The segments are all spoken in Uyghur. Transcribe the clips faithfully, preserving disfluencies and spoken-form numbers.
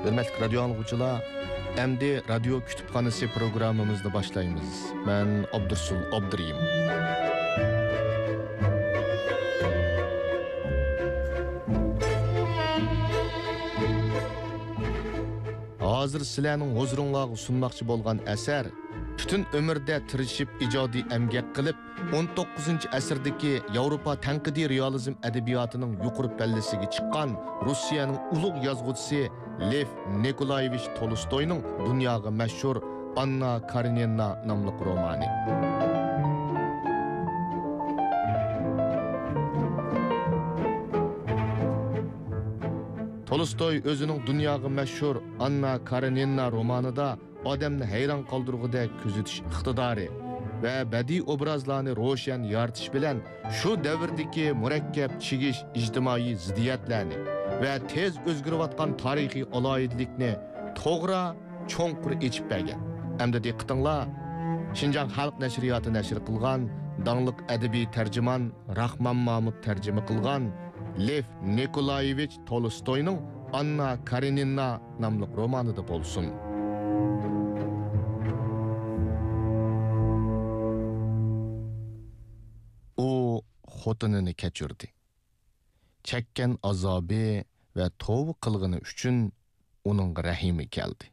ھۆرمەتلىك رادىيو ئاڭلىغۇچىلار، ئەمدى رادىيو كۇتۇپخانىسى پروگراممىمىزنى باشلايمىز. مەن ئابدۇرسۇل ئابدۇرېھىم. ھازىر سىلەرنىڭ ھۇزۇرۇڭلارغا سۇنماقچى بولغان ئەسەر پۈتۈن ئۆمرىدە تىرىشىپ ئىجادىي ئەمگەك قىلىپ، ئون توققۇزىنچى ئەسىردىكى ياۋروپا تەنقىدىي رېئالىزم ئەدەبىياتىنىڭ يۇقىرى پەللىسىگە چىققان روسىيەنىڭ ئۇلۇغ يازغۇچىسى لېف نىكولايېۋىچ تولستوينىڭ دۇنياغا مەشھۇر ئاننا كارېنىنا ناملىق رومانى. تولستوي ئۆزىنىڭ دۇنياغا مەشھۇر ئاننا كارېنىنا رومانىدا ئادەمنى ھەيران قالدۇرغۇدەك كۆزىتىش ئىقتىدارى ۋە بەدىئىي ئوبرازلارنى روشەن يارىتىش بىلەن شۇ دەۋردىكى مۇرەككەپ چىگىش ئىجتىمائىي زىددىيەتلەرنى ۋە تېز ئۆزگىرىۋاتقان تارىخىي ئالاھىدىلىكنى توغرا، چوڭقۇر ئېچىپ بەرگەن. ئەمدى دىققىتىڭلار شىنجاڭ خەلق نەشرىياتى نەشر قىلغان داڭلىق ئەدەبىي تەرجىمان راخمان مامۇت تەرجىمە قىلغان لېف نىكولايېۋىچ تولستوينىڭ ئاننا كارېنىنا ناملىق رومانىدا بولسۇن. ئۇ خوتۇنىنى كەچۈردى. چەككەن ئازابى ۋە توۋا قىلغىنى ئۈچۈن ئۇنىڭغا رەھىمى كەلدى.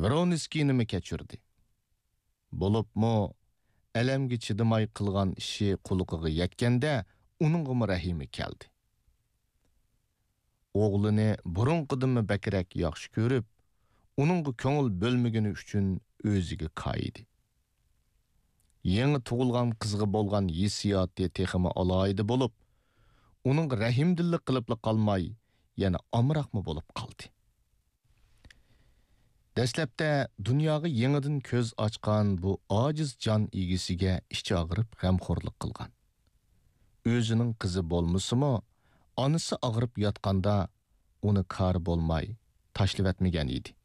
ۋرونسكىينىمۇ كەچۈردى. بولۇپمۇ ئەلەمگە چىدىماي قىلغان ئىشى قۇلىقىغا يەتكەندە ئۇنىڭغىمۇ رەھىمى كەلدى. ئوغلىنى بۇرۇنقىدىنمۇ بەكرەك ياخشى كۆرۈپ، ئۇنىڭغا كۆڭۈل بۆلمىگىنى ئۈچۈن ئۆزىگە كايىدى. يېڭى تۇغۇلغان قىزغا بولغان ھېسسىياتى تېخىمۇ ئالاھىدە بولۇپ، ئۇنىڭغا رەھىمدىللا قىلىپلا قالماي، يەنە ئامراقمۇ بولۇپ قالدى. دەسلەپتە دۇنياغا يېڭىدىن كۆز ئاچقان بۇ ئاجىز جان ئىگىسىگە ئىچى ئاغرىپ غەمخورلۇق قىلغان. ئۆزىنىڭ قىزى بولمىسىمۇ، ئانىسى ئاغرىپ ياتقاندا ئۇنى كارى بولماي تاشلىۋەتمىگەن ئىدى.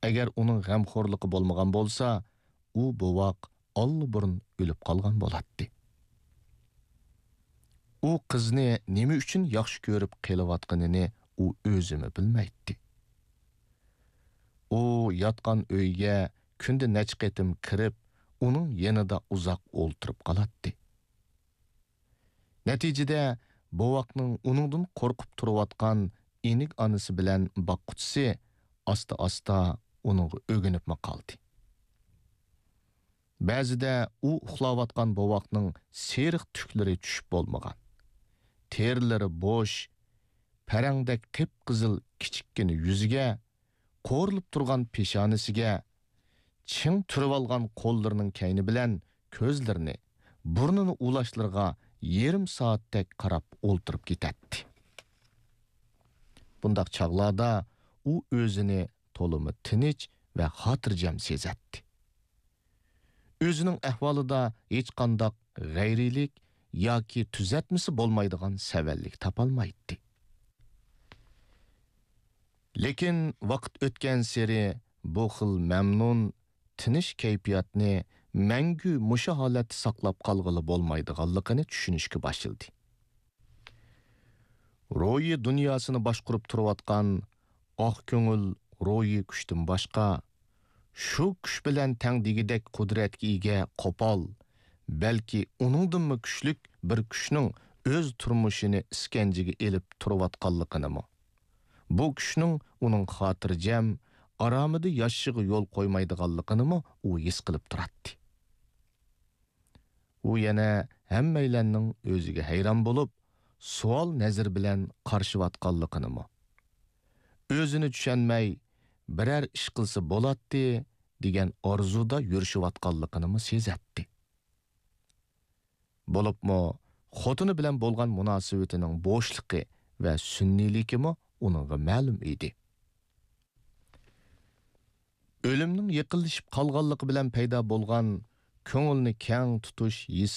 ئەگەر ئۇنىڭ غەمخورلۇقى بولمىغان بولسا، ئۇ بوۋاق ئاللىبۇرۇن ئۆلۈپ قالغان بولاتتى. ئۇ قىزنى نېمە ئۈچۈن ياخشى كۆرۈپ قېلىۋاتقىنىنى ئۇ ئۆزىمۇ بىلمەيتتى. ئۇ ياتقان ئۆيگە كۈندە نەچچە قېتىم كىرىپ، ئۇنىڭ يېنىدا ئۇزاق ئولتۇرۇپ قالاتتى. نەتىجىدە، بوۋاقنىڭ ئۇنىڭدىن قورقۇپ تۇرۇۋاتقان ئېنىك ئانىسى بىلەن باققۇچىسى ئاستا-ئاستا ئۇنىڭغا ئۆگىنىپمۇ قالدى. بەزىدە ئۇ ئۇخلاۋاتقان بوۋاقنىڭ سېرىق تۈكلىرى چۈشۈپ بولمىغان، تېرىلىرى بوش، پەرەڭدەك قىپقىزىل كىچىككىنە يۈزىگە، قورۇلۇپ تۇرغان پېشانىسىگە، چىڭ تۈرۈۋالغان قوللىرىنىڭ كەينى بىلەن كۆزلىرىنى، بۇرنىنى ئۇلاشلىرىغا يېرىم سائەتتەك قاراپ ئولتۇرۇپ كېتەتتى. بۇنداق چاغلاردا ئۇ ئۆزىنى تولىمۇ تىنچ ۋە خاتىرجەم سېزەتتى. ئۆزىنىڭ ئەھۋالىدا ھېچقانداق غەيرىيلىك ياكى تۈزەتمىسى بولمايدىغان سەۋەنلىك تاپالمايتتى. لېكىن ۋاقىت ئۆتكەنسېرى بۇ خىل مەمنۇن، تىنچ كەيپىياتنى مەڭگۈ مۇشۇ ھالەتتە ساقلاپ قالغىلى بولمايدىغانلىقىنى چۈشىنىشكە باشلىدى. روھىي دۇنياسىنى باشقۇرۇپ تۇرۇۋاتقان ئاق كۆڭۈل روھىي كۈچتىن باشقا، شۇ كۈچ بىلەن تەڭ دېگۈدەك قۇدرەتكە ئىگە قوپال، بەلكى ئۇنىڭدىنمۇ كۈچلۈك بىر كۈچنىڭ ئۆز تۇرمۇشىنى ئىسكەنجىگە ئېلىپ تۇرۇۋاتقانلىقىنىمۇ، بۇ كۈچنىڭ ئۇنىڭ خاتىرجەم، ئارامىدا ياشىشىغا يول قويمايدىغانلىقىنىمۇ ئۇ ھېس قىلىپ تۇراتتى. ئۇ يەنە ھەممەيلەننىڭ ئۆزىگە ھەيران بولۇپ، سوئال نەزىرى بىلەن قارىشىۋاتقانلىقىنىمۇ، ئۆزىنى چۈشەنمەي، بىرەر ئىش قىلسا بولاتتى دېگەن ئارزۇدا يۈرۈشۈۋاتقانلىقىنىمۇ سېزەتتى. بولۇپمۇ خوتۇنى بىلەن بولغان مۇناسىۋىتىنىڭ بوشلۇقى ۋە سۈنئىيلىكىمۇ ئۇنىڭغا مەلۇم ئىدى. ئۆلۈمنىڭ يېقىنلىشىپ قالغانلىقى بىلەن پەيدا بولغان كۆڭۈلنى كەڭ تۇتۇش ھېس